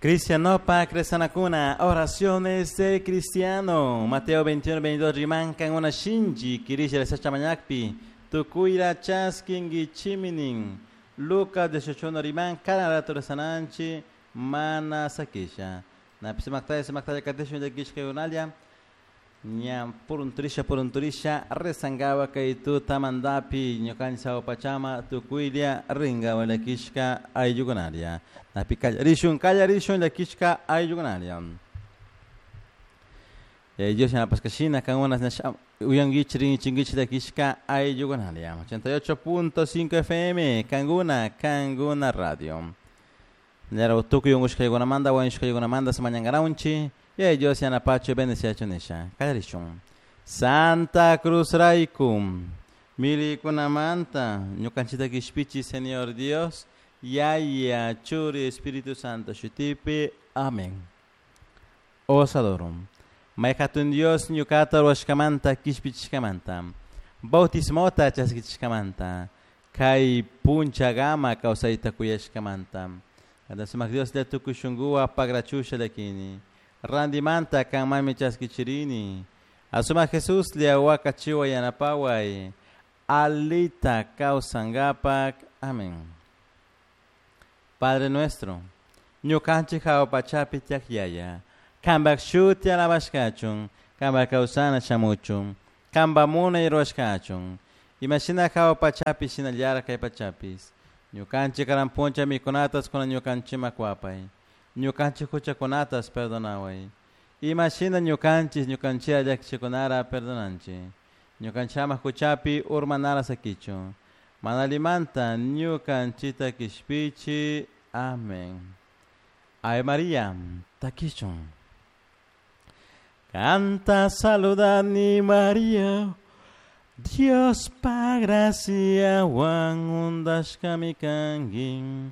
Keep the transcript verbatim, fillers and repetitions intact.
Cristianopa Cresanacuna, oraciones del cristiano. Mateo veintiuno, veintidós, rimankan una shinji, kirisha mañakpi, tukuira chaskingi chiminin. Lucas dieciocho, riman, kana rato resananchi, mana sakisha. Napisimaktaya, simaktaya, katishun, yakishka yunalia. Ña purunturisha, purunturisha, rezangawa kay tuta mandapi, ñukancha pachama, tukuilia, ringawa lakishka ayllukunaria. Napi kallarishun, kallarishun, lakishka ayllukunaria. Dios yanapaskashina, kangunas uyanguichi, ringuichinguichi, lakishka ayllukunaria. ochenta y ocho punto cinco F M, Kanguna, Kanguna Radio. Ñara tukuy ungushkaykunamanta, wañushkaykunamanta, samañankaranchi. Y Dios yanapacho bendeciacho nisha. Kallarishun. Santa Cruz Raikum. Milikunamanta. Ñukanchita kishpichi, Señor Dios. Yaya, Churi, Espíritu Santo, Shutipi. Amén. Os adoro. Maykatun Dios ñukata ruwashkamanta, kishpichishkamanta. Bautismota chaskichishkamanta. Kay punchagama kawsayta kuyashkamanta. Kandasumak Dios le tukushunguwa pagrachusha lakini. Randimanta kanmami chaskichirini. Asuma Jesús le awakachiwa yanapaway. Alita kawsangapak. Amén. Padre nuestro, ñukanchik hawa pachapi tiak yaya. Kambak shuti alabashkachun, kambak kawsana shamuchun, kamba munay ruwashkachun. Imashina hawa pachapi shinallara kay pachapis. Ñukanchik karampuncha mikunatas kuna ñukanchima kwapay. Ñukanchik huchakunatas perdonaway. Imashina ñukanchis ñukanchira llakichikunara perdonanchi. Ñukanchama huchapi urmanara sakichu. Manalimanta ñukanchita kishpichi. Amén. Ave María, takichun. Canta saludani María, Dios pa gracia wan undashkami kangin.